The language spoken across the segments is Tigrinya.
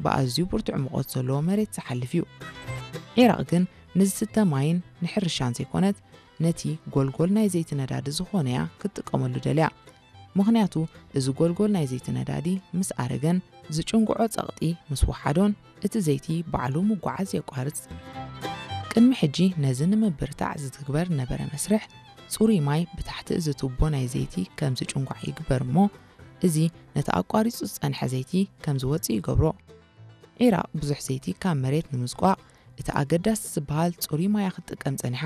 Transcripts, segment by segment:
ብኣዝዩ ብርቱዕ ሙቐት ዘለዎ መሬት ዝሓልፍ እዩ። ዒራቕ ግን ንዝስተ ማይን ንሕርሻን ዘይኮነት፣ ነቲ ጎልጎል ናይ ዘይቲ ነዳዲ ዝኾነ እያ ክትጥቀመሉ ደልያ። ምኽንያቱ፣ እዚ ጎልጎል ናይ ዘይቲ ነዳዲ ምስ ኣረገን ዝጭንግዖ ጸቕጢ ምስ ወሓዶን፣ እቲ ዘይቲ ባዕሉ ምጓዓዝ የቋርጽ። ቅድሚ ሕጂ ነዚ ንምብርታዕ ዝትግበር ነበረ መስርሕ፣ ጽሩይ ማይ ብታሕቲ እዚ ቱቦ ናይ ዘይቲ ከም ዝጭንጓዕ ይግበር እሞ፣ እዚ ነቲ ኣቋሪጹ ዝጸንሐ ዘይቲ ከም ዝወጽእ ይገብሮ። ዒራቕ ብዙሕ ዘይቲ ካብ መሬት ንምዝቋቕ እቲ ኣገዳሲ ዝበሃል ጽሩይ ማያ ክትጥቀም ጸኒሓ።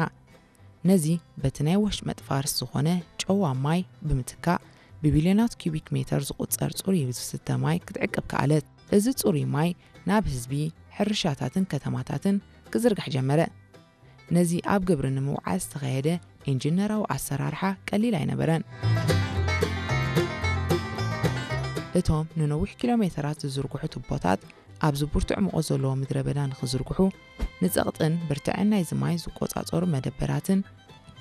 ነዚ በቲ ናይ ወሽመጥ ፋርስ ዝኾነ ጨዋ ማይ ብምትካእ፣ ብቢልዮናት ኪዩቢክ ሜተር ዝቑጸር ጽሩይ ዝስተ ማይ ክትዕቅብ ከኣለት። እዚ ጽሩይ ማይ ናብ ህዝቢ፣ ሕርሻታትን ከተማታትን ክዝርጋሕ ጀመረ። ነዚ ኣብ ግብሪ ንምውዓል ዝተኻየደ ኢንጂነራዊ ኣሰራርሓ ቀሊል ኣይነበረን። እቶም ንነዊሕ ኪሎ ሜተራት ዝዝርግሑ ቱቦታት ኣብዚ ብርቱዕ ሙቐት ዘለዎ ምድረ በዳ ንኽዝርግሑ፣ ንጸቕጥን ብርትዐን ናይዚ ማይ ዝቆጻጸሩ መደበራትን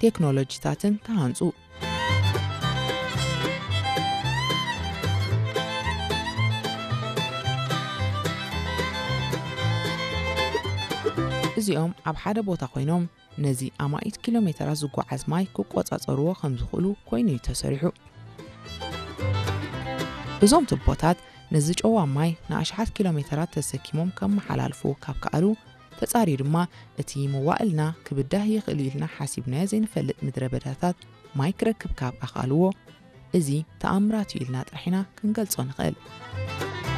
ቴክኖሎጂታትን ተሃንጹ። እዚኦም ኣብ ሓደ ቦታ ኮይኖም ነዚ ኣማኢት ኪሎ ሜተራት ዝጓዓዝ ማይ ክቆጻጸርዎ ከም ዝኽእሉ ኮይኑ እዩ ተሰሪሑ። እዞም ቱቦታት ነዚ ጨዋ ማይ ንኣሽሓት ኪሎ ሜተራት ተሰኪሞም ከመሓላልፉ ካብ ከኣሉ፣ ተጻርዩ ድማ እቲ መዋእልና ክብዳህ ይኽእል ኢልና ሓሲብናዮ ዘይንፈልጥ ምድረ በዳታት ማይ ክረክብ ካብ ኣኽኣልዎ፣ እዚ ተኣምራት እዩ ኢልና ጥራሕ ኢና ክንገልጾ ንኽእል።